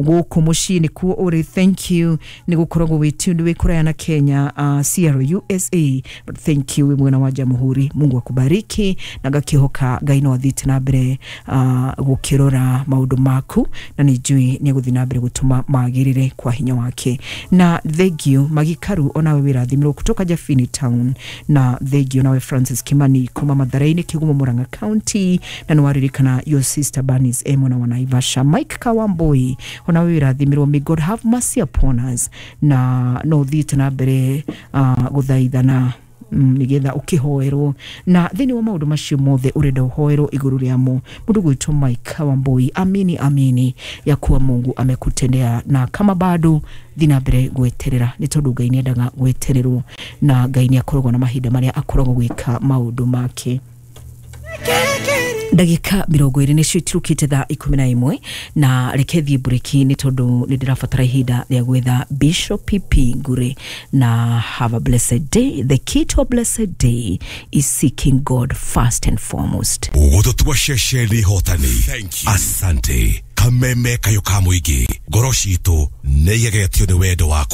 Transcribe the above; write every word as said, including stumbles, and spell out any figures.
Gũkũ mũciĩ nĩkuo ũrĩ. Thank you nĩ gũkoragwo wĩ tuned wĩ kũraya na Kenya, uh, C R U S A, but thank you wĩ mwena wa Jamhuri. Mungu akubariki na ngakĩhoka Ngai no athiĩte na mbere uh, gũkĩrora maũndũ maku na nĩ njũĩ nĩ egũthiĩ na mbere gũtũma magĩrĩre kwa hinya wake. Na thank you Magikaru, onawe wĩrathimirwo kutoka Jafini Town. Na thank you nawe Francis Kimani kuma Mathare-inĩ, Kĩgumo, Murang'a County, na nĩ waririkana your sister Bernice e mwena wa Naivasha. Mike Kawamboi, onawe wĩrathimirwo. May God have mercy upon us. Na no thiĩte na mbere uh, gũthaithana mm, nigetha ũkĩhoerwo na thĩinĩ wa maũndũ macio mothe ũrenda ũhoerwo igũrũ rĩamo. Mũndũ gwĩtwo Mike Wambui, amini amini ya kuwa Mungu amekutendea, na kama bado thi na mbere gweterera nĩ tondũ Ngai nĩendaga gwetererwo na Ngai nĩ akoragwo na mahinda marĩa akoragwo gwĩka maũndũ make. Ndagĩka mĩrongo ĩrĩ nĩcio itirũkĩte thaa ikũmi na ĩmwe, na reke thiĩ mburĩki nĩ tondũ nĩ ndĩrabatara ihinda rĩa gwetha Bishop P P Ngure. Na have a blessed day. The key to a blessed day is seeking God first and foremost. Gũtũtua ceceni hotani. Asante. Kameme kayũ ka mũingĩ, ngoro citũ nĩ igegetio nĩ wendo waku.